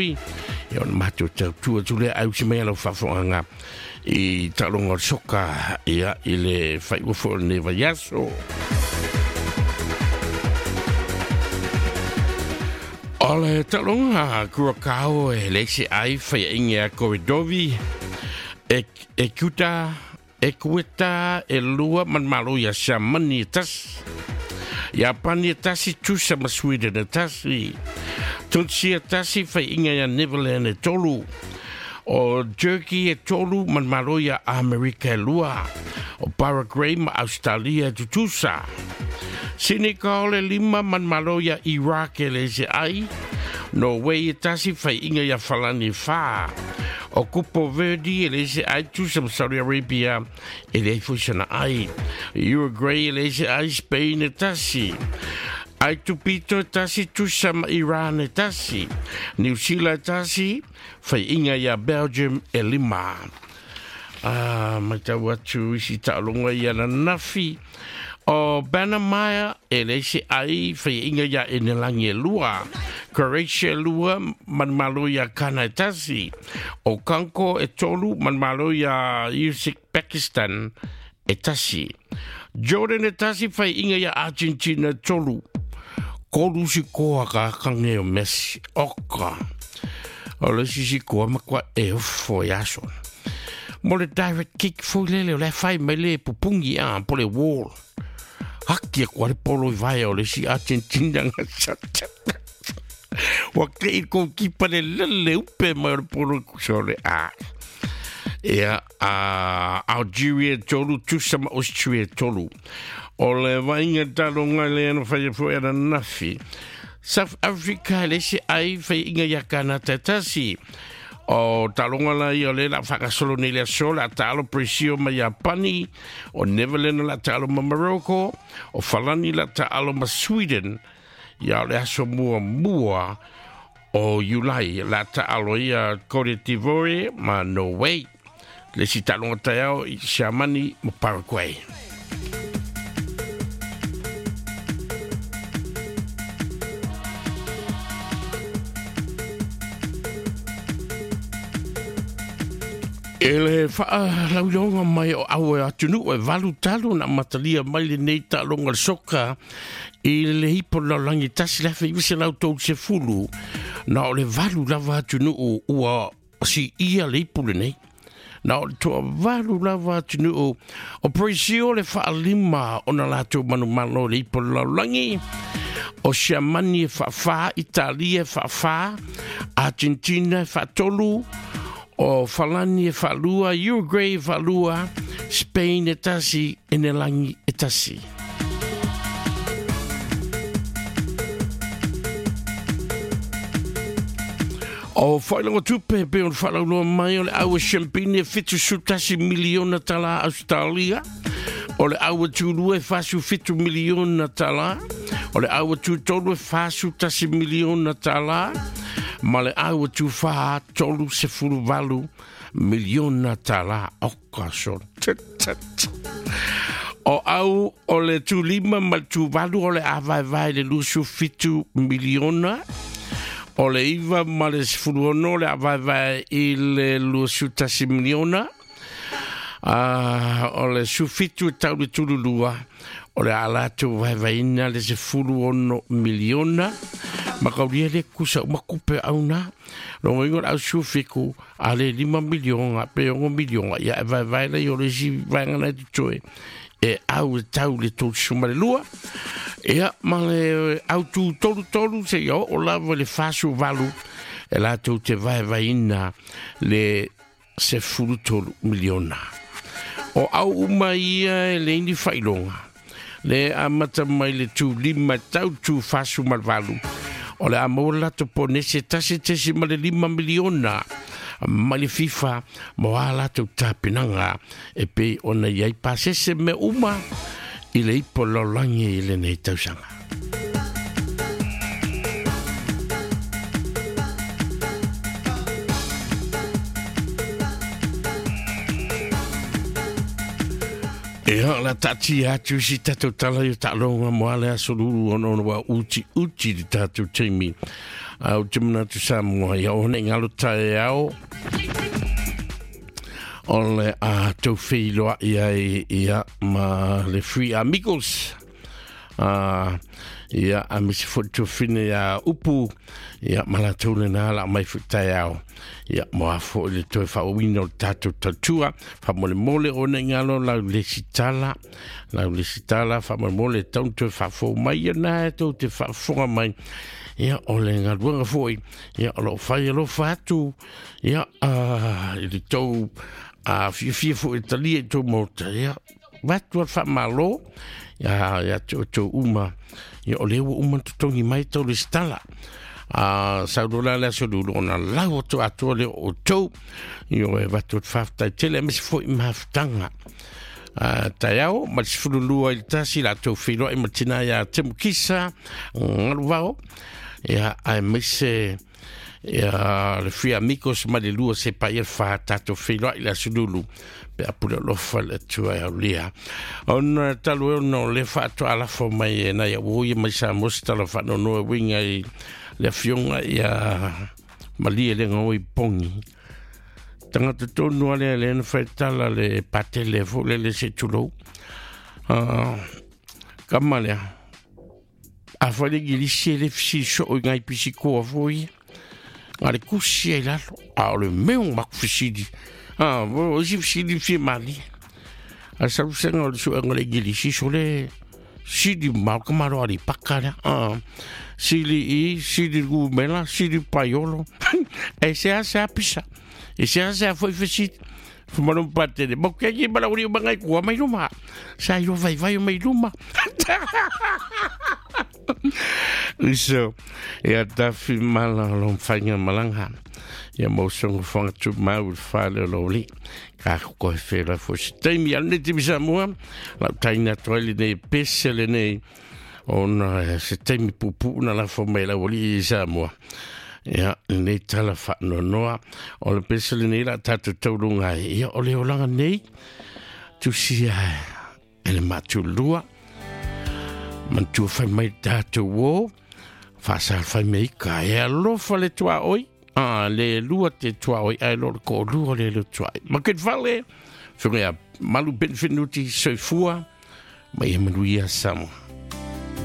Ia ona matou tautua atu lea ai usi mai a lau faafofogaaga i taaloga o le soka ia i le faaiuga foi o lenei vaiaso. O le taaloga Curacao e leai se ai faiaina ia Koredovi e, e Kuta e Kueta e lua ma le Malo ia Siamani e tasi. Iapani e tasi, Tusa ma Sweden e tasi. Tunisia e tasi, faiaina ia Netherland e tolu. O Turkey e tolu ma le Malo ia Amerika e lua. O Paraguay ma Australia e tutusa. Senegal e lima ma le Malo ia Iraq e leai se ai. Norway e tasi, faiaina ia Falani e fa. O Kupo Verdi e leai se ai, Tusa ma Saudi Arabia e leai foi sana ai. Uruguay e leai se ai, Spain e tasi. Ai Tupito e tasi, Tusa ma Iran e tasi. New Zealand e tasi, faiaina ia Belgium e lima. Ah, matau atu isi taaloga ia ananafi. O Banamaia e leai se ai, faiaina ia Enelangi e lua. Croatia e lua, ma le Malo ia Kana e tasi. O Kanko e tolu, ma le Malo ia Uzbekistan e tasi. Jordan e tasi, faiaina ia Argentina e tolu. Kolu sikoa ka kange o Messi. Oka. O le isi sikoa matua e ofo i aso. Mo le direct kick foi lele o le fai mai le pupungi a po le wall. Haki e kua le polo i vaea o le isi Argentina nga Ua kei kou kipa le lele upe mai o le polo kusa o le a. Ia, a Algeria e tolu, Tusa ma Austria e tolu. O le vaaiga taloga le ana whai foi ananafi. South Africa e leai se ai faiaina ia Kanata e tasi. O taloga la ia o le la whakasolo nei le aso la taalo Brazil ma Iapani, o Netherlands la taalo ma Morocco, o Falani la taalo ma Sweden. Ia o le aso mua mua o Iulai la taalo ia Cote d'Ivoire ma Norway. Le isi taaloga taeao i Siamani ma Paraguay. E le whaalauiloga mai o aue atunuu e valu talu na amatalia mai lenei taaloga le soka i le ipo lalolagi 1930 na o le valu lava atunuu ua siia le ipu lenei. Na o le toavalu lava atunuu o Brazil le faalima ona latou manumalo i le ipu o le lalolagi, o Siamani e faafā, Italia e faafā, Argentina e faatolu, o Falani e faalua, Uruguay e faalua, Spain e tasi, Enelagi e tasi. O whailoga tupe pe o whalauloa mai o le aua champagne e 71 miliona tala Australia, o le aua tūlua e 47 miliona tala, o le aua tūtolu e 41 miliona tala, ma le aua tūwhā 38 miliona tala. O ka so. O au o le tūlima ma le tūvalu o le āvaevae le 27 miliona, o le iva ma le 16 o le āvaevae i le 21 miliona, o le 17 e tau le tululua, o le a latou vaevaeina le 16 miliona, ma kaulia le kusa uma kupe au nā. Longa ingo le au sufiku, a le 5 miliona, pe 6 miliona, ia e vaevae lei o le isi vaega na e totoe, e au e tau le 32. Ia, ma le au tū tolu tolu, se ia oo lava le 48, e latou te vaevaeina le 13 miliona. O au uma ia e leai ni faailoga, le amata mai le tū lima tau tū 48, o le a maua le latou ponese 1.5 miliona mai le FIFA mo a latou tapenaga e pei ona i ai pasese mea uma i le ipo lalolagi i lenei tausaga. Ia, la taatia atu si tatou tala i o taaloga mo ale aso lulu ona ona ua uti uti le tatou taimi. Au te manatu Samoa ia o nei ngalo tae ao o le a tau wheiloa ia ia ma le Free Amigos. Ia a misi fo tofine ia upu ia ma la tau lena la mai fu tae ao. Ia mo a fo le toe whaowina o tātou tautua wha mole mole o nei ngalo lau le sitala wha mole mole tau toe whafo mai ia nā e tau te whafonga mai. Ia o le ngaluanga foi ia o lo whai alofa atu ia i le tau fia fo i talia i tau mota ia watu al whamalo ia ia tau uma ia o le ua uma tutongi mai tau le stala saulola le aso lulu ona lau atu atua le o tau ia o e watu al whaftai tele mesi foi mahafutanga taiao ma le 12 i le tasi la tau whiloa i matina ia Temukisa ngalu ia ai mise ia le Free Amigos ma le lua se pa ia wha tātou whiloa i le aso lulu pe apule lofa le atua e aulia. Ona talu e ono le whaatua alafo mai e nai au ia mai sa mosi tala whaanonoa winga i le afionga ia malie le ngoi pongi. Tangata tonu ale le na whaitala le patele fo le le se tulou. Kama lea. A whale gilisi e le fisi so o ngai pisi koa foi. Ngā le kusi e lalo. A o le meo maku fisidi. O si fisidi fie mali. A salusenga o le suenga le gilisi so le sidi mau ka maro ari paka lea. Sili i, sili gumela, sili paiolo. E se a se a pisa. E se a se a foi fisidi. Fumano patele. Mo ke ki mala uri mangai kua mai luma. Sa iro vai vai mai luma. So, ia tafi mala lo whainga malanga. Ia mo songo whanga tu mau whale lo li. Ka ko he whera fo se taimi al neti misa mua. Lau taina toa le nei pese le nei. Ona se taimi pupu na la fo mai lau li i Samoa. Ia, nei tala whaanonoa. O le pese le nei la tātou taurunga. Ia, o le olanga nei. Tusia e le matulua. Mantua whai mai tātou o. Whaasal whai mai ka e alofa le tua oi. Le lua te tua oi. Ai lor ko lua le le tua oi. Maket vale. Whinga ia malu benfinuti soifua. Mai e manuia Samoa.